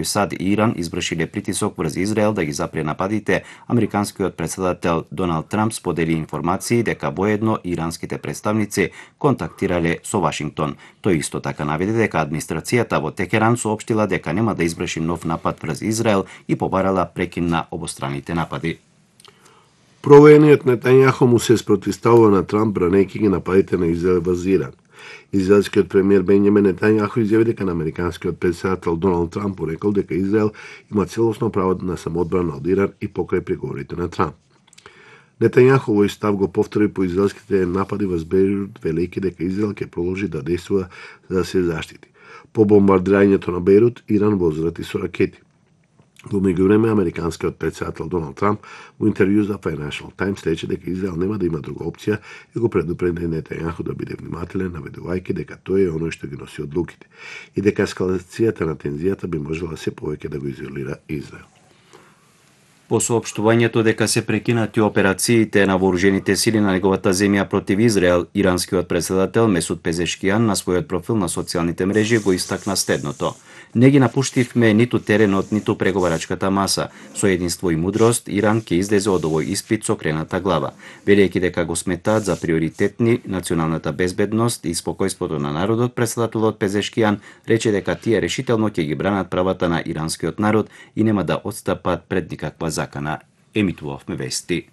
САД и Иран извршиле притисок врз Израел да ги запре нападите, американскиот претседател Доналд Трамп сподели информации дека воедно иранските представници контактирале со Вашингтон. Тој исто така наведе дека администрацијата во Текеран соопштила дека нема да изврши нов напад врз Израел и побарала прекин на обостраните напади. Провоениот Нетањаху му се спротивставува на Трамп бранејќи ги нападите на Израел врз Иран. Израелскиот премиер Бенјамин Нетањаху изјави дека на американскиот претседател Доналд Трамп рекол дека Израел има целосно право на самоодбрана од Иран и покрај преговорите на Трамп. Нетањаху овој став го повтори по израелските напади врз Бејрут, велејќи дека Израел ќе продолжи да действува за да се заштити. По бомбардирањето на Бејрут, Иран возврати со ракети. Во меѓувреме, американскиот претседател Доналд Трамп во интервју за Financial Times рече дека Израел нема да има друга опција и го предупреди Нетањаху да биде внимателен, наведувајќи дека тој е оној што ги носи одлуките и дека ескалацијата на тензијата би можела се повеќе да го изолира Израел. По соопштувањето дека се прекинати операциите на вооружените сили на неговата земја против Израел, иранскиот претседател Месуд Пезешкијан на својот профил на социјалните мрежи го истакна следното: "Не ги напуштивме ниту теренот, ниту преговарачката маса. Со единство и мудрост, Иран ќе излезе од овој испит со крената глава", велејќи дека го сметаат за приоритетни националната безбедност и спокојството на народот. Претседателот Пезешкијан рече дека тие решително ќе ги бранат правата на иранскиот народ и нема да отстапат пред никаква закана. Емитувавме вести.